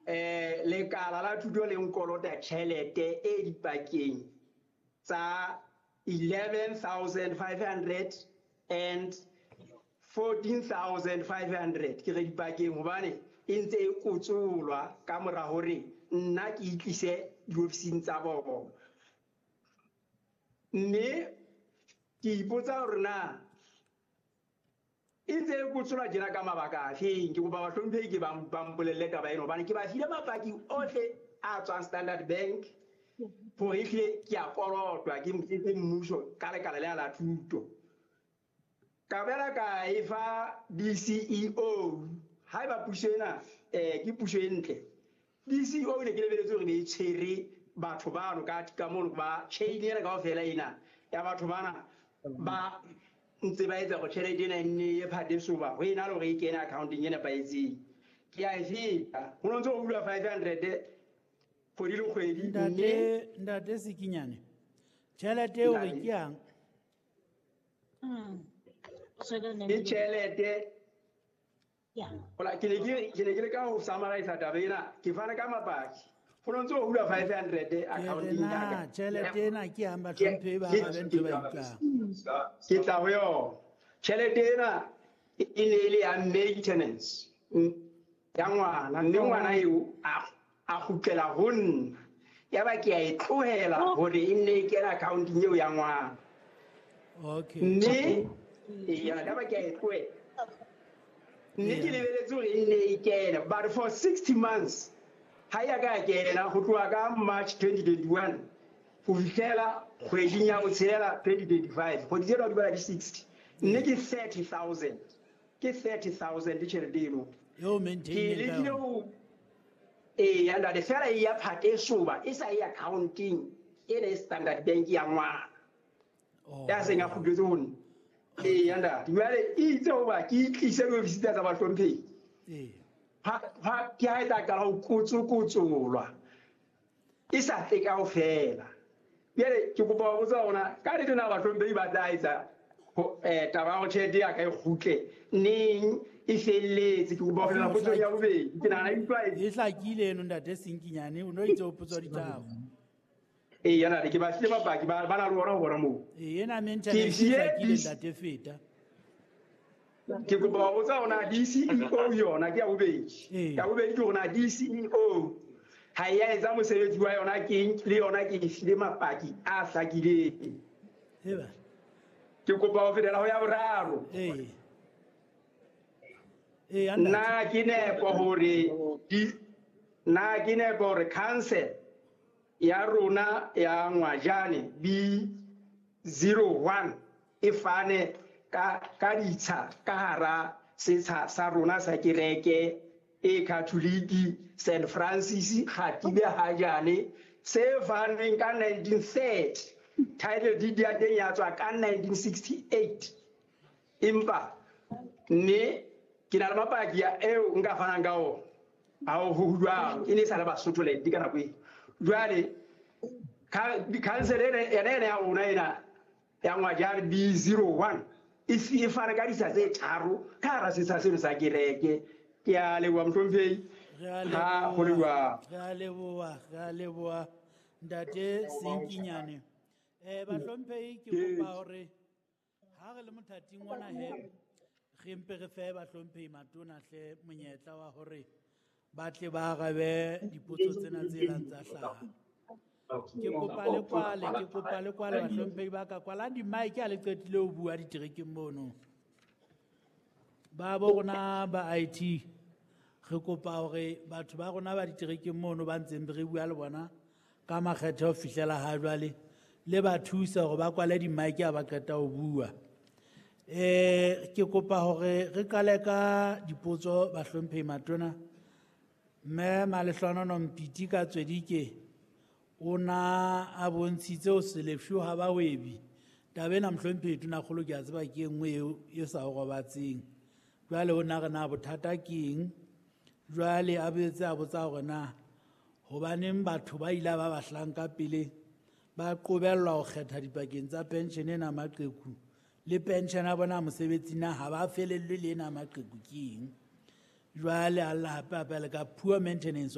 Lekala la thuto le nkolota tjhelete e dipakeng tsa 11,500 and 14,500. Ke re dipakeng hobane e ntse e kotsolwa ka mora hore nna ke itlise diofising tsa bona. Mme ke ipotsa hore na e ntse e kotsolwa tjena ka mabaka afeng. Ke kopa bahlomphehi ke ba mpolelle taba ena hobane ke ba file mapaki ohle a tswang Standard Bank hore ehlile ke a kolotwa ke mmuso ka lekala lena la thuto. Ka boela ka e fa DCEO. Haeba puso ena ke puso e ntle, DCEO ne ke lebeletse hore ne e tshwere batho bano ka mono ba chain ena kaofela ena ya batho bana ba ntse ba etsa hore tjhelete ena e nne e phate soba ho ena le hore e kene accounteng e nepahetseng. Ke a e feta. Ho no ntse ho hulwa 500 kgwedi le kgwedi. Ntate Sekinyane, tjhelete eo re ke yang? Ke tjhelete. Hola, ke ne ke leka ho summarize taba ena, ke fana ka mapaki. Ho no ntse ho hulwa 500 accounting ya ka. Tjhelete ena ke yang bahlomphehi ba arabe ntho ba utlwang. Ke tla ho yona. Tjhelete ena e ne e le ya maintenance ya ngwana, mme ngwana eo a kgutlela ho nna. Yaba ke a e tlohela hore e nne e kene accounting eo ya ngwana. Mme yaba ke a e tlohela. Mme ke lebeletse hore e nne e kene, but for 60 months ha ya ka kena ho tloha ka March 2021 ho fihlela kgweding ya botshelela 2025. Kgwedi tsena di bala di 60. Mme ke 30,000. Ke 30,000 tjhelete eno. Eo maintain Ke ka lekile yona. ho eya ntate, fela e ya phate soba e sa e accounting ena e Standard Bank ya ngwana. Ya seng a kgutletse ho nna. Eya ntate, jwale e itse hoba ke itlise diofising tsa bahlomphehi. Ha ke ha e tla qala ho kotsokotsolwa. E sa tle kaofela. Jwale ke kopa ho botsa hore ka nnete na bahlomphehi ba tla etsa ho taba ya hore tjhelete ya ka e kgutle neng e felletse. Ke kopa ho fetela potsong ya bobedi. Ke nahana e utlwa e- E hlakile eno ntate Senkinyane, o no itse o potswa ditaba. Eya ntate, ke ba file mapaki ba na le ona ho bona moo. Ena maintenance Ke file e hlakile ntate feta. Ke kopa ho botsa hore na DCEO yona ke ya bobedi. Ya bobedi ke hore na DCEO ha e ya etsa mosebetsi wa yona ke eng, le yona ke e file mapaki a hlakileng. Ke kopa ho fetela ho ya boraro. Na ke nepo hore na ke nepo hore council ya rona ya Ngwajane B01 e fane ka ditsha ka hara setsha sa rona sa kereke e Catholic Saint Francis Kgatibe Hajane se fanweng ka 1930. Title deed ya teng ya tswa ka 1968. Empa mme ke na le mapaki a eo nka fanang ka ona. Ha ho jwalo, e ne e sa le Basotho land ka nako eo. Jwale council ena ena ya rona ena ya Ngwajane B01 e e fana ka ditsha tse tharo ka hara setsha seno sa kereke. Ke a leboha mohlomphehi. Ha ho le jwalo. Re a leboha, re a leboha ntate Senkinyane. Bahlomphehi, ke kopa hore ha re le mothating ona he, re mpe re fe bahlomphehi matona hle monyetla wa hore ba tle ba arabe dipotso tsena tse lang tsa hlaha. Ke kopa le kwale, ke kopa le kwale bahlomphehi ba ka kwalang di-mic ha le qetile ho bua diterekeng mono. Ba bo rona ba IT, re kopa hore batho ba rona ba diterekeng mono ba ntseng re bua le bona ka makgethe ho fihlela ha jwale, le ba thusa hore ba kwale di-mic ha ba qeta ho bua. Ke kopa hore re qale ka dipotso bahlomphehi matona. Mme Malehlohono Mpiti ka Tswedike o na a bontshitse ho se lefshwe ha bahwebi. Taba ena mohlomphehi Tonakgolo ke a tseba ke e nngwe eo e sa o robatseng. Jwale o na re na bothata ke eng? Jwale a boetse a botsa hore na hobaneng batho ba ile ba bahlanka pele ba qobellwa ho kgetha dipakeng tsa pension ena maqheku le pension ya bona mosebetsi na ha ba felellwe le ena maqheku ke eng? Jwale a lla hape hape le ka poor maintenance of